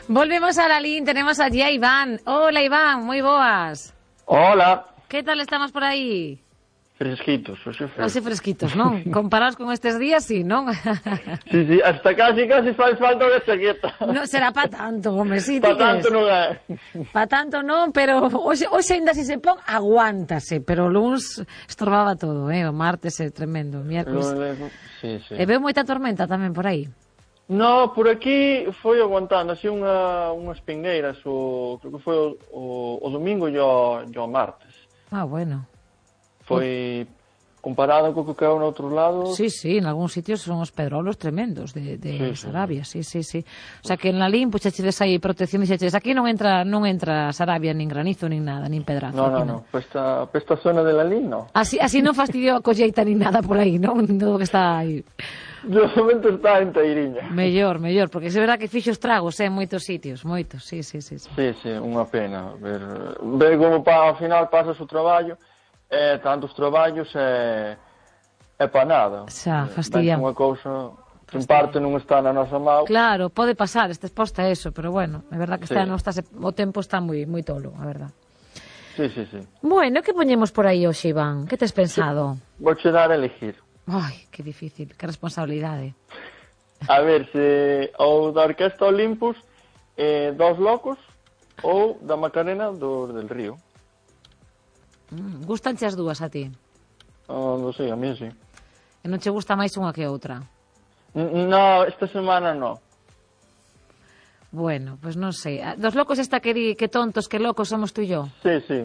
Volvemos a Lalín, tenemos allí a Iván. Hola Iván, moi boas. Hola. Que tal estamos por aí? Fresquitos, Así fresquitos, non? Comparados con estes días, sí, non? Sí, hasta casi faz falta unha chaqueta. Non será pa tanto, home, sí, Pa tanto non é. Pa tanto non, pero hoxe ainda se pon, aguántase, pero o luns estorbaba todo, o martes é tremendo, o miércoles. Sí. E veo moita tormenta tamén por aí. No, por aquí foi aguantando así unhas pingueiras, creo que foi o domingo e o martes. Ah, bueno. Foi comparado co que caeu no outro lado. Sí, en algúns sitios son os pedrolos tremendos de Sarabia, sí. O sea que en Lalín puxachedes aí protección, dixeches, aquí non entra Sarabia, nin granizo, nin nada, nin pedrazo. No, esta zona de Lalín, no. Así non fastidiou a colleita nin nada por aí, non? Todo que está aí. De momento está enteiriña. Mellor, porque se verá que fixo estragos en moitos sitios, moitos, sí. Sí, unha pena ver como ao final pasas o traballo. Tantos traballos pa nada. Xa, fastidiamos. Unha cousa que en parte non está na nosa mão. Claro, pode pasar, está exposta a eso, pero bueno, é verdad que o tempo está moi tolo, a verdad. Sí. Bueno, que poñemos por aí hoxe, Iván? Que tes pensado? Vou che dar a elegir. Ai, que difícil, que responsabilidade. A ver, se ou da Orquesta Olympus, Dos Locos, ou da Macarena del Río. Gustanche as dúas a ti? Non sei, a mí sí. E non che gusta máis unha que outra? No, esta semana no. Bueno, pues non sei. Dos Locos esta que tontos, que locos somos tú e yo. Sí.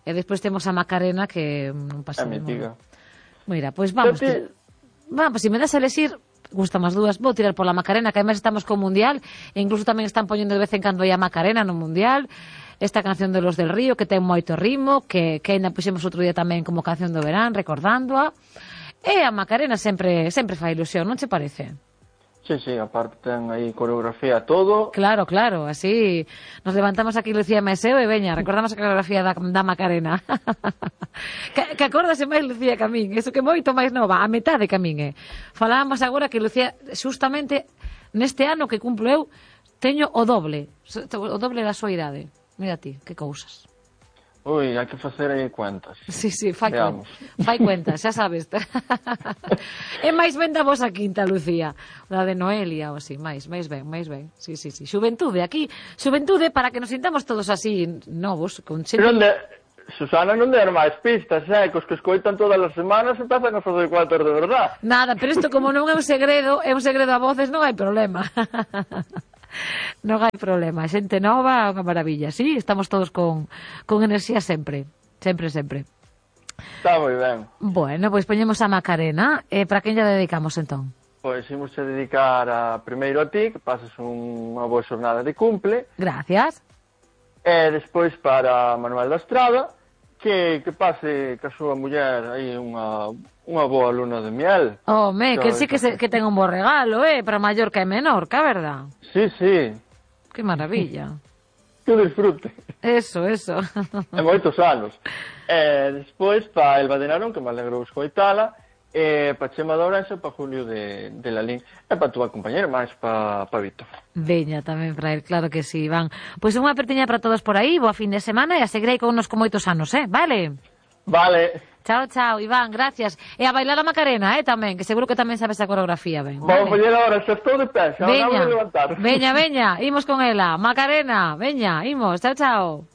E despois temos a Macarena que non pasa nada. A mítica. Mira, pois vamos. Vamos, se me das a elegir, gustan as dúas, vou tirar pola Macarena, que además estamos co Mundial, e incluso tamén están poñendo de vez en cando aí a Macarena no Mundial. Esta canción de Los del Río, que ten moito ritmo, que ainda puxemos outro día tamén como canción do verán, recordándoa. E a Macarena sempre fai ilusión, non che parece? Sí, aparte ten aí coreografía todo. Claro, así nos levantamos aquí Lucía Meseo e veña, recordamos a coreografía da Macarena. que acórdase máis Lucía que a min, eso que moito máis nova, a metade que a min, Falábamos agora que Lucía, justamente neste ano que cumplo eu, teño o doble da súa idade. Mira ti, que cousas. Ui, hai que facer aí cuentas. Sí, fai cuentas, xa sabes. É máis ben da vosa quinta, Lucía. Da de Noelia ou así, máis ben. Sí. Xuventude, aquí, xuventude para que nos sintamos todos así novos. Susana non der máis pistas, que os que escoitan todas as semanas empezan a fazer cuentas de verdad. Nada, pero isto como non é un segredo a voces, non hai problema. Non hai problema, xente nova, unha maravilla. Sí, estamos todos con enerxía sempre. Está moi ben. Bueno, pois poñemos a Macarena. Para quen lla dedicamos entón? Pois imos a dedicar primeiro a ti, que pases unha boa xornada de cumple. Gracias. E despois para Manuel da Estrada, que pase ca súa muller aí unha boa luna de miel. Que sí que ten un bo regalo, para Mallorca e Menorca, verdad? Sí. Que maravilla. Que disfrute. Eso. E moitos anos. Despois para Elba de Narón, que me alegro escoitala, para Chema de Ourense, para Julio de Lalín, e para túa compañera, máis para Víctor. Veña tamén para el, claro que sí, Iván. Pois unha apertiña para todos por aí, boa fin de semana, e a seguir aí con unos con moitos anos, vale? Vale. Chao, Iván, gracias. E a bailar a Macarena, tamén, que seguro que tamén sabes a coreografía, ben. Vamos a poñer agora, xa estou de pé, xa vamos a levantar. Veña, imos con ela. Macarena, veña, imos, chao.